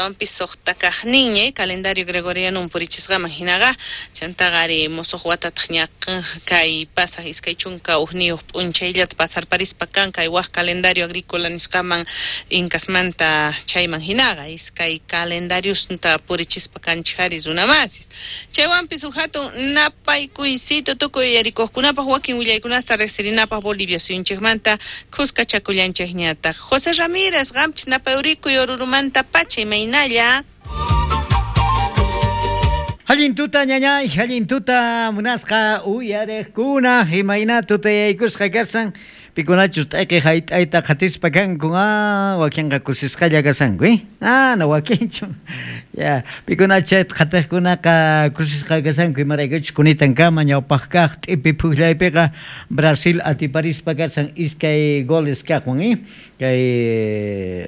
Chaywanpis suqta kaqninña calendario gregoriano purichisqaman hinaqa, chantaqa ari musuq watataq ña kay pasaq 21 p'unchayllata pasarparispa kan kay wak calendario agrícola nisqaman inkasmanta chayman hinaqa iskay calendariosnta purichispa kanchik ari runamasis. Chaywanpis huk hatun napaykuysito tukuy uyarikuqkunapaq wakin willaykunasta riqsirinapaq Bolivia suyunchikmanta khuskachakullanchikñataq. José Ramírez, qampis napayurikuy Orurumanta pacha imaynalla. Allin tuta ñañay, allin tuta munasqa uyariqkuna, imayna tutayaykusqa kasan, pikunachus t'ayqi hayt'ayta qhatispa kanku, wakinqa kusisqalla kasanku, na wakinchu. Ya, pikunachus chayta qhatiqkunaqa kusisqa kasanku, imaraykuchus kunitankama ñawpaq kaq t'ipi phujllaypiqa Brasil atiparispa kasan iskay goles kaqwan, kay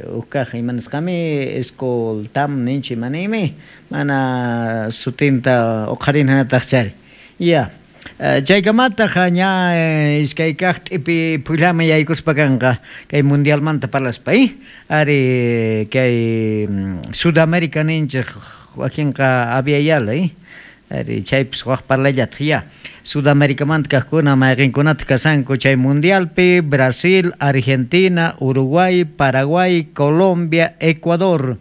huk kaq ima nisqami escoltam ninchik imaniymi, mana sutinta uqharinataq chari. Ya, chaykamataq ña iskay kaq t'ipi phujllaman yaykuspa kanqa kay mundialmanta parlaspa, ari kay Sudamérica ninchik wakinqa Abya Yala, ari chaypis waq parlallataq ya. Sudaméricamanta kaqkuna mayqinkunataq kasanku chay mundialpi Brasil, Argentina, Uruguay, Paraguay, Colombia, Ecuador.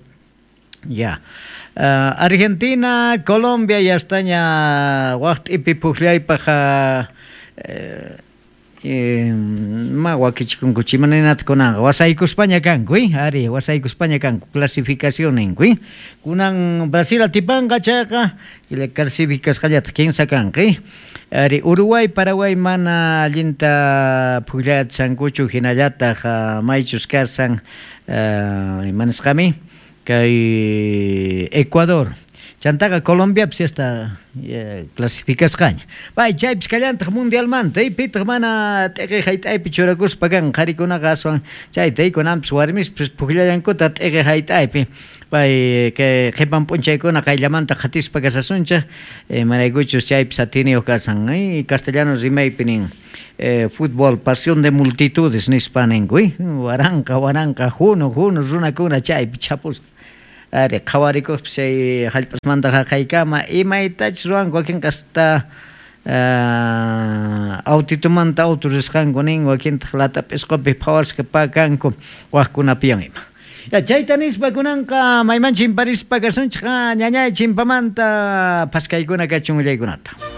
Ya. Argentina, Colombia yastaña waq t'ipi phujllaypaq ma wakichikunku chimaninata kunanqa wasaykuspaña kanku, ari wasaykuspaña kanku clasificación ninku, kunan Brasil atipanqa chayqa clasificasqallataq kinsa kanqa, ari Uruguay, Paraguay mana allinta phujllayachankuchu hinallataq maychus kasan ima nisqami kay Ecuador. Chantaqa Colombiapis yasta clasificasqaña. Pay chaypis kallantaq mundialmanta, pitaq mana t'iqi hayt'aypi churakuspa kan qharikunaqa aswan chayta kunanpis warmispis phujllallankuta t'iqi hayt'aypi. Pay kay qhipan p'unchaykuna qayllamanta qhatispa kasasunchik, imaraykuchus chaypis atiniyuq kasan, castellano rimaypi nin fútbol pasión de multitudes nispa ninku, waranqa waranqa hunu hunu runakuna chaypi chapusqa. Ari qhawarikuqpis chay hallp'asmanta haqaykama imaytachus ruwanku wakinqa hasta autitumanta auto risqanku nin wakintaq lata p'isqupi phawasqa pakanku waqkunapiwan ima. Ya chayta nispa kunanqa mayman chimparispa kasunchik, ñañay chimpamanta phaskaykuna kachun willaykunata.